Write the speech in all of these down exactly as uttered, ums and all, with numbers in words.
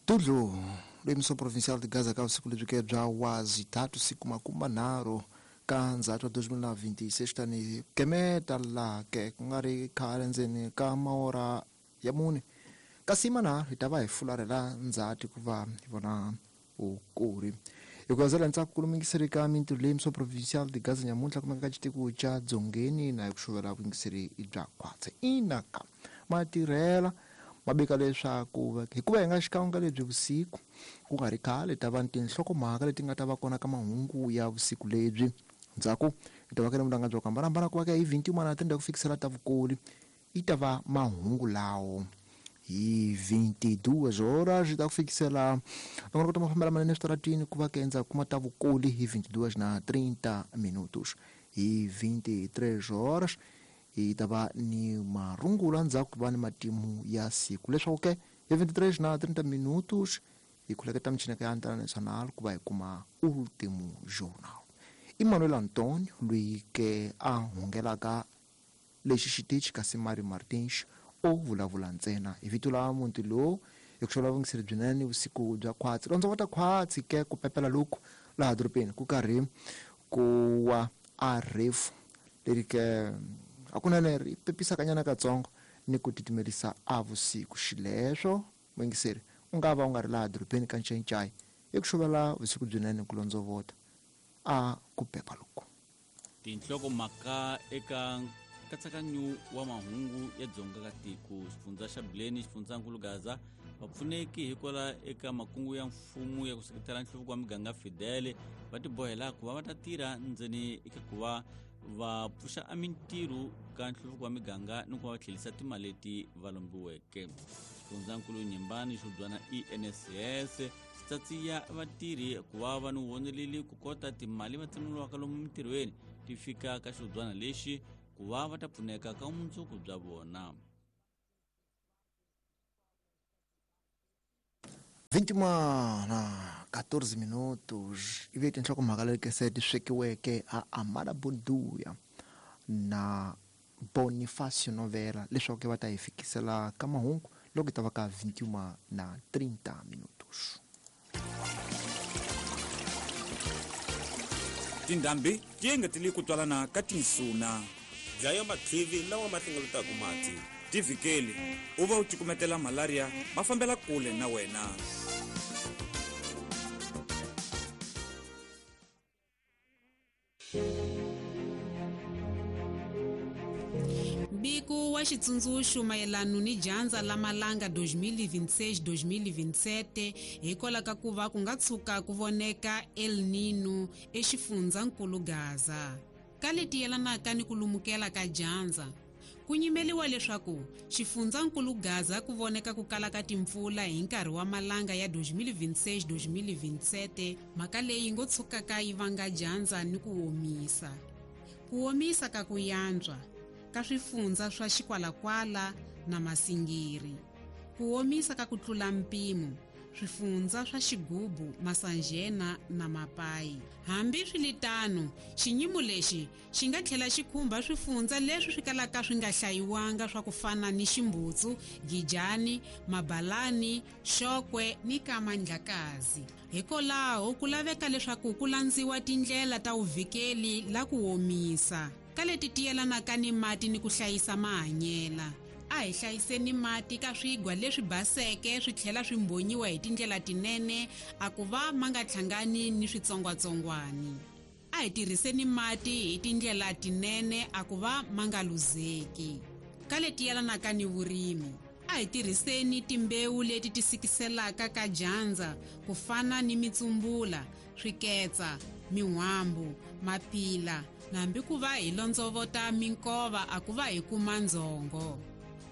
Tudlu lemiso provincial de Gaza ka vusiku lebyi ke bya wazi tatu siku makuma nharhu ka ndzhato wa twenty twenty-six tani kemeta laha ke ku nga ri khale ndzeni ka maora ya mune kasi manharhu hi ta va hi fularhela ndzhati ku va hi vona vukuri hi ku landzela ntsako ku lumekiseri ka mintirho leyi miso provincial de Gaza nyamuntlha kumeka ka xitiko xa dzongeni na hi ku xuvela vuyingiseri bya khwatsi inaka matirhela mabeka leswaku hikuva hi nga xikan'we lebyi vusiku ku nga ri khale ta va ni tinhlokomhaka leti nga ta va kona ka mahungu ya vusiku lebyi ndzhaku hi ta va ka mulanga bya ku hambanahambana ku va ka hi twenty-one na tenda ku fikisela ta vukoli yi ta va mahungu lawo hi twenty-two horas ta ku fikisela loko ku ta mafambela manene eswitaratini ku va ka endzhaku kuma ta vukoli hi twenty-two na thirty minutos hi twenty-three horas hi ta va ni marungula ndzhaku va ni matimu ya siku leswaku ke hi twenty-three na thirty minutos hi khuleketa michineka ya Antena Nacional ku va hi kuma Último Jornal. Emmanuel Antonio loyi ke a hungelaka lexi xitichi kasi Mario Martins o vulavula ntsena hi vito la muti lowu hi ku xava vungiseri byinene vusiku bya khwatsi londzovota khwatsi ke ku pepela loku laha dorobeni ku karhi ku wa a refu leri ke hakunene ri pepisa kanyana katsongo ni ku titimelisa a vusiku xileswo muyingiseri u nga va u nga ri laha dorobeni ka Ncayicayi hi ku xuvela vusiku byinene ku londzovota a ku pepa loku tinhlokomhaka eka nkatsakanyo wa mahungu ya dzonga ka tiko xifundza xa Bileni xifundzankulu Gaza vapfuneki hikwala eka makungu ya mfumo ya ku seketela nhluvuko wa miganga Fidele va tibohela ku va va ta tirha ndzeni eka ku va va pfuxa a mintirho ka nhluvuko wa miganga ni ku va va tlherisa timali leti va lombiweke xifundzankulu Nyimbani xo E N S S xi tsatsiya vatirhi ku va va ni voneleli ku kota timali va tsemuriwaka lomu mintirhweni ti fika ka xodwana lexi ku va va ta pfuneka ka vumundzuku bya vona. vinte e uma na quatorze minutos i ve tinhlokomhaka leti se ti swekiweke a Amada Bunduya na Bonifacio Novela leswaku va ta hi fikisela ka mahungu loko ta va ka vinte e uma na trinta minutos. Tindhambi ti engetele ku twalana ka tinsuna dlaya mathivi lawa ma hlengeletaka mati tivikeli u va u cukumetela malaria ma fambela kule na wena. Mbiko wa xitsundzuxo mayelana ni dyandza la malanga twenty twenty-six twenty twenty-seven hikwalaho ka ku va ku nga tshuka ku voneka El Nino exifundzankulu Gaza ka leti yelanaka ni ku lumukela ka dyandza ku nyimeliwa leswaku xifundzankulu Gaza ku voneka ku kala ka timpfula hi nkarhi wa malanga ya twenty twenty-six twenty twenty-seven mhaka leyi ngo tshukaka yi vanga dyandza ni ku omisa ku omisa ka ku yantswa ka swifundza swa Xikwalakwala na Masingiri ku omisa ka ku tlula mpimo swifundza swa Xigubu Masanjena na Mapayi hambi swiritano xinyimo lexi xi nga tlhela xi khumba swifundza leswi swi kalaka swi nga hlayiwanga swa ku fana ni Ximbutsu Gijani Mabalani Xokwe ni Kamandlakazi hikwalaho ku laveka leswaku ku landziwa tindlela ta vuvikeli la ku omisa ka leti ti yelanaka ni mati ni ku hlayisa mahanyela a hi hlayiseni mati ka swigwa leswi baseke swi tlhela swi mbonyiwa hi tindlela tinene a ku va ma nga hlangani ni switsongwatsongwani a hi tirhiseni mati hi tindlela tinene a ku va ma nga luzeki ka leti yelanaka ni vurimi a hi tirhiseni timbewu leti ti sikiselaka ka dyandza ku fana ni mitsumbula swiketsa min'wambu mapila nambi ku va hi londzovota minkova a ku va hi kuma ndzhongo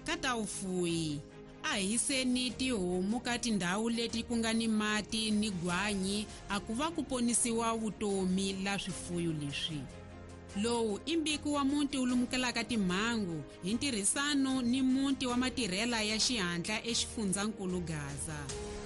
ka ta vufuyi a hi hiseni tihomu ka tindhawu leti ku nga ni mati ni gwanyi a ku va ku ponisiwa vutomi la swifuyo leswi lowu i mbiko wa muti wu lumukelaka timhangu hi ntirhisano ni muti wa matirhela ya xihatla exifundzankulu Gaza.